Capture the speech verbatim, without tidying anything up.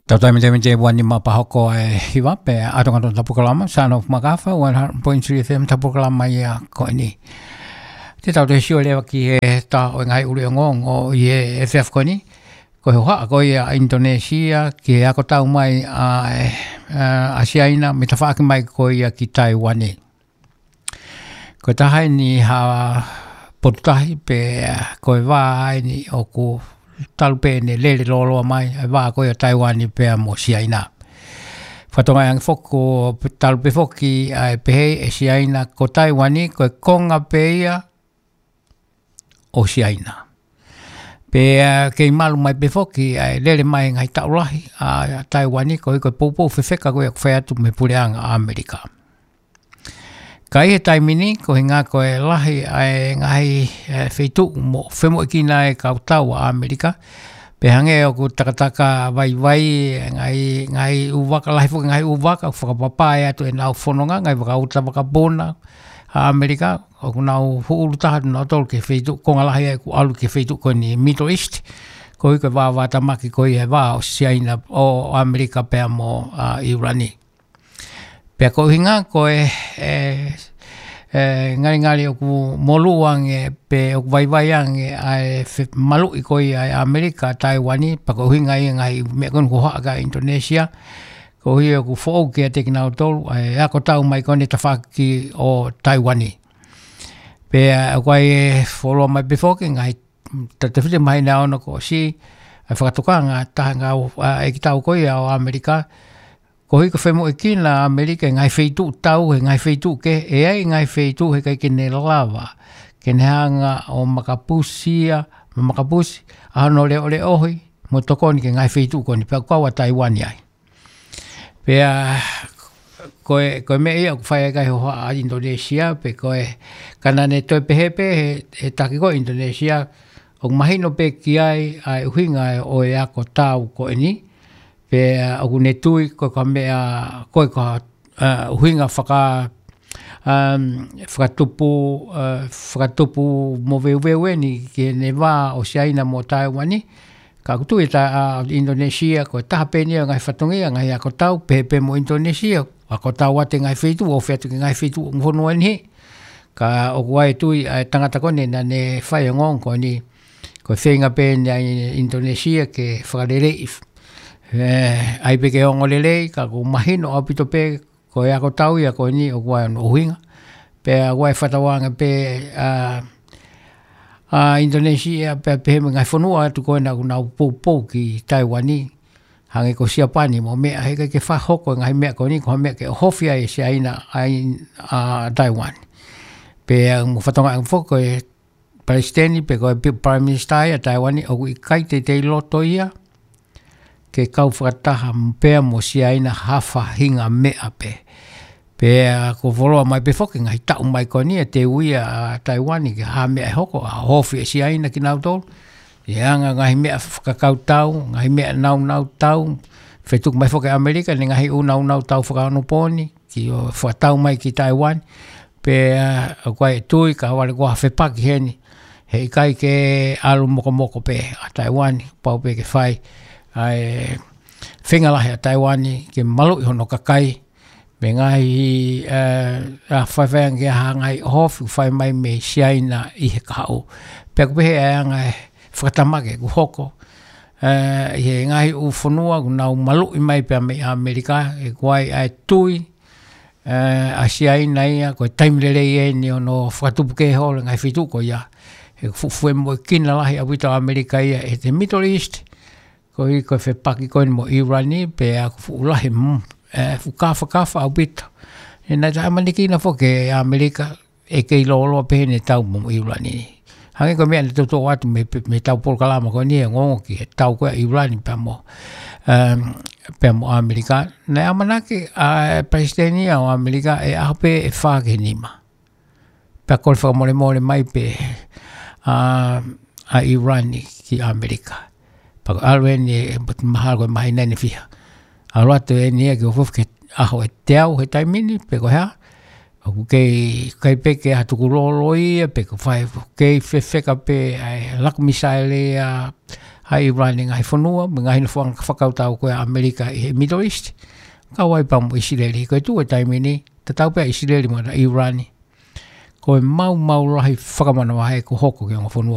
Tau tai mete mete ua nima pea hoko e hiva pea ʻalu atu ki he polokalama, Son of Makafa, one hundred point three F M, polokalama ia ko eni. Te tau toe sio leva ki he taha ʻo e ngaahi ʻuluʻi ongoongo ʻi he efiafi ko eni. Ko e hohaʻa ko ia ʻa Indonesia ki he ako tau mai ʻa, ʻa, ʻa Siaina, mei he tafaʻaki mai ko ia ki Taiuani. Ko e taha eni ha potu tahi pea ko e vā eni ʻoku talu pē ʻene lele lōloa mai, e vā ko ia ʻo Taiuani pea mo Siaina. Fakatokangaʻi ange foki ʻoku talu pē foki ʻa e pehē ʻe Siaina ko Taiuani, ko e konga pē ia ʻo Siaina. Pea kei malu mai pē foki ʻa e lele mai e ngaahi taʻu lahi ʻa Taiuani, koeʻuhi ko e poupou fefeka ko ia ʻoku fai atu mei he puleʻanga ʻAmelika. Ka ʻi he taimi ni, ko e ʻuhinga ko e lahi ʻa e ngaahi, ē, feituʻu ʻoku femoʻuekina ai e kau tau ʻa ʻAmelika, pea hangē ʻoku takataka vaivai, e ngaahi, ngaahi ʻū vaka, lahi foki e ngaahi ʻū vaka ʻoku fakapapauʻi atu ʻenau fononga, ngaahi vaka uta, vaka puna ʻa ʻAmelika, ʻoku nau hū ʻulu taha atu nautolu ki he feituʻu konga lahi ai ʻoku ʻalu ki he feituʻu ko eni Middle East, koeʻuhi ko e vāvātamaki ko ia e vā ʻo Siaina, ʻo ʻAmelika pea mo, ā, ʻIulani. Pea ko e ʻuhinga ko e, e, e, ngalingali ʻoku molū ange pe ʻoku vaivai ange ʻa e fe-, maluʻi ko ia ʻa ʻAmelika ʻa Taiuani, pea ko e ʻuhinga ia e ngaahi meʻa ko eni ʻoku hohaʻa ki ai ʻa Indonesia, koeʻuhi ʻoku foʻou kiate kinautolu ʻa e ako tau mai ko eni tafaʻaki ʻo Taiuani. Pea ʻoku ʻi ai e fuoloa mai pē foki e ngaahi tautefito mahino ʻa e ono kuo ʻosi, ʻa e fakatokanga ʻa e ngaahi, ā, ʻeikitau ko ia ʻo ʻAmelika, koeʻuhi ko e femoʻuekina ʻa ʻAmelika e ngaahi feituʻu tau, he ngaahi feituʻu kehe, ʻe ʻi ai e ngaahi feituʻu he ʻikai ke ne lava ke ne hanga ʻo makapusi ia, mo makapusi ʻa hono leʻoleʻohi mo tokoni ki he ngaahi feituʻu ko eni, pea ʻoku kau ʻa Taiuani ai. Pea ko e, ko e meʻa ia ʻoku fai ai e ngaahi hohaʻa ʻa Indonesia, pea ko e, ka naʻa ne toe pehē pē he, he taki ko ē ʻa Indonesia, ʻoku mahino pē ki ai ʻa e ʻuhinga ʻo e ako tau ko eni, pea ʻoku ne tui ko e ko e meʻa, ko e ko e, ā, ʻuhinga faka-, um, fakatupu, ā, fakatupu moveuveu eni ki heʻene vā ʻo Siaina mo Taiuani, ka ʻoku tui ʻa, ā, Indonesia, ko e taha pē eni ʻo e ngaahi fatongia, ngaahi ako tau, pehē pē mo Indonesia, ako tau atu e ngaahi feituʻu, ofi atu ki he ngaahi feituʻu ʻo e fonua ni. Ka ʻoku ʻi ai e tui ʻa e tangata ko eni naʻa ne fai e ongoongo ko eni, ko e feinga pē eni ʻa Indonesia ke fakaleleiʻi, ē, ʻai pē ke ongo lelei, ka ʻoku mahino ʻaupito pē ko e ako tau ia ko eni ʻoku ʻi ai hono ʻuhinga. Pea ʻoku ʻi ai e fakatauange pē ʻa, ʻa Indonesia, pea pehē mo e ngaahi fonua atu ko ena ʻoku nau poupou ki Taiuani, hangē ko Siapani mo e meʻa, he ʻikai ke fakahoko e ngaahi meʻa ko eni ko ha meʻa ke ʻohofi ai ʻe Siaina ʻa, ʻa Taiuani. Pea mo fakatokangaʻi ange foki ko e Palesiteni pe ko e pi-, Prime Minister ia ʻa Taiuani ʻoku ʻikai teitei loto ia ke kau fakataha pea mo Siaina ha faʻahinga meʻa pē. Pea ʻoku fuoloa mai pē foki ngaahi taʻu mai ko eni ʻe teuʻi ʻa Taiuani ki ha meʻa ʻe hoko, ʻa e ʻohofi ʻe Siaina kinautolu. ʻI he anga ngaahi meʻa fakakautau, ngaahi meʻa nāunau tau, fetuku mai foki ʻa ʻAmelika, ʻene ngaahi ʻū nāunau tau fakaonopōni, ki ʻo fakatau mai ki Taiuani, pea ʻoku ʻi ai e tui ka ʻoku ʻi ai ha fepaki heni, he ʻikai ke ʻalu mokomoko pē ʻa Taiuani, pau pē ke fai ʻa e feinga lahi ʻa Taiuani ke maluʻi hono kakai, mei he ngaahi, ē, ʻa e faifai ange ki ha ngaahi ʻohofi ʻoku fai mai mei Siaina ʻi he kahaʻu. Pea ʻoku pehē ʻa e anga e fakatamaki ʻoku hoko, ē, ʻi he ngaahi ʻū fonua ʻoku nau maluʻi mai pea mei ʻAmelika, he ʻoku ʻi ai ʻa e tui, ē, ʻa Siaina ia, ko e taimi lelei eni hono fakatupu kehe holo e ngaahi feituʻu ko ia. He ʻoku fuʻu femoʻuekina lahi ʻaupito ʻa ʻAmelika ia ʻi he Middle East, koeʻuhi ko e fepaki ko eni mo ʻIulani, pea ʻoku fuʻu lahi, mm, ē, fuʻu kafakafa ʻaupito. ʻE, naʻe taʻeʻamanekina foki ʻe ʻAmelika, ʻe kei lōloa pē ʻene tau mo ʻIulani. Hangē ko e meʻa naʻe toutou ʻoatu mei, mei heʻetau polokalama ko eni ʻo ongoongo ki he tau ko ia ʻa ʻIulani pea mo, um, pea mo ʻAmelika. Naʻe ʻamanaki ʻa e palesiteni ʻo ʻAmelika ʻe ʻaho pē ʻe fā ki he nima. Pea kole fakamolemole mai pē ʻa, ʻa ʻIulani ki ʻAmelika. Pea ko e ʻalu eni ʻe, mahalo ko e māhina ʻe fiha. ʻAlu atu eni ia ke ofofi ki he ʻaho ʻe teau he taimi ni, pe ko e hā. ʻOku kei, kei pē ke ʻatu kulolo ia, pe ko e fai, kei fefeka pē ʻa e laku misaele ʻa, ʻa ʻIulani ngaahi fonua, mo e ngaahi nofoʻanga fakakautau ko ē ʻa ʻAmelika ʻi he Middle East, kau ai pea mo ʻIsileli. Ko e tuʻu e taimi ni, tatau pē ʻa ʻIsileli mo ʻIulani. Ko e maumau lahi fakamanavahē kuo hoko ki he ongo fonua